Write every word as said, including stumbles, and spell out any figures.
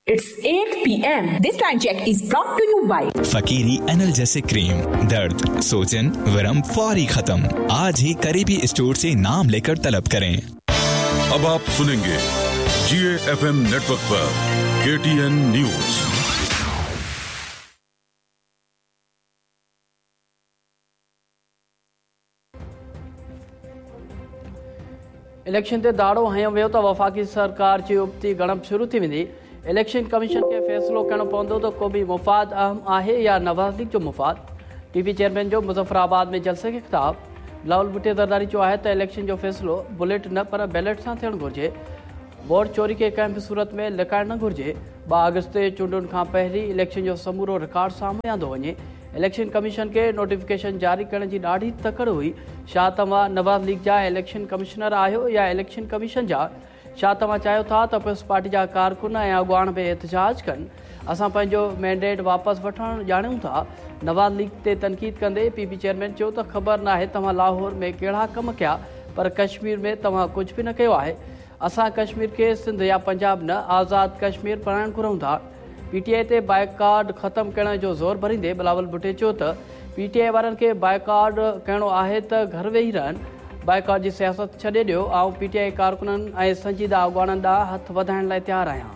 It's eight P M. This time check is brought to you by Fakiri analgesic cream. दर्द, सोजन, वरम फौरी खत्म। आज ही करीबी स्टोर से नाम लेकर तलब करें। अब आप सुनेंगे जी एफ एम नेटवर्क पर के टी एन न्यूज। इलेक्शन ते दाड़ो हयो वियो त वफ़ाक़ी सरकार जी उबती गणप शुरू थी वेंदी। इलेक्शन कमीशन खे फ़ैसिलो करणो पवंदो त को बि मुफ़ाद अहम आहे या नवाज़ लीग जो मुफ़ाद। पी पी चेयरमैन जो मुज़फ़राबाद में जलसे खे ख़िताब। बिलावल भुट्टो ज़रदारी चयो आहे त इलेक्शन जो फ़ैसिलो बुलेट न पर बैलेट सां थियणु घुरिजे। वोट चोरी खे कंहिं बि सूरत में लिकाइणु न घुरिजे। ॿ अगस्त ते चूंडुनि खां पहिरीं इलेक्शन जो समूरो रिकॉर्ड साम्हूं आंदो वञे। इलेक्शन कमीशन खे नोटिफिकेशन जारी करण जी ॾाढी तकड़ हुई। छा तव्हां नवाज़ लीग जा इलेक्शन कमिश्नर आहियो या इलेक्शन कमीशन जा? छा तव्हां चाहियो था त पीपल्स पार्टी जा कारकुन ऐं अॻुवाण बि एहतजाज कनि? असां पंहिंजो मैंडेट वापसि वठणु ॼाणूं था। नवाज़ लीग ते तनक़ीद कंदे पी पी चेयरमैन चयो त ख़बर न आहे तव्हां लाहौर में कहिड़ा कम कया, पर कश्मीर में तव्हां कुझु बि न कयो आहे। असां कश्मीर खे सिंध या पंजाब न, आज़ाद कश्मीर बणाइणु घुरूं था। पी टी I ते बाइकाट ख़त्म करण जो ज़ोर भरींदे बिलावल भुट्टो चयो त पी टी I वारनि खे बाइकाट करणो आहे त घर वेही रहनि, बाइकाट जी सियासत छॾे ॾियो। आउं पी टी I कारकुननि ऐं संजीदा अॻुवाणनि ॾांहुं हथु वधाइण लाइ तयारु आहियां।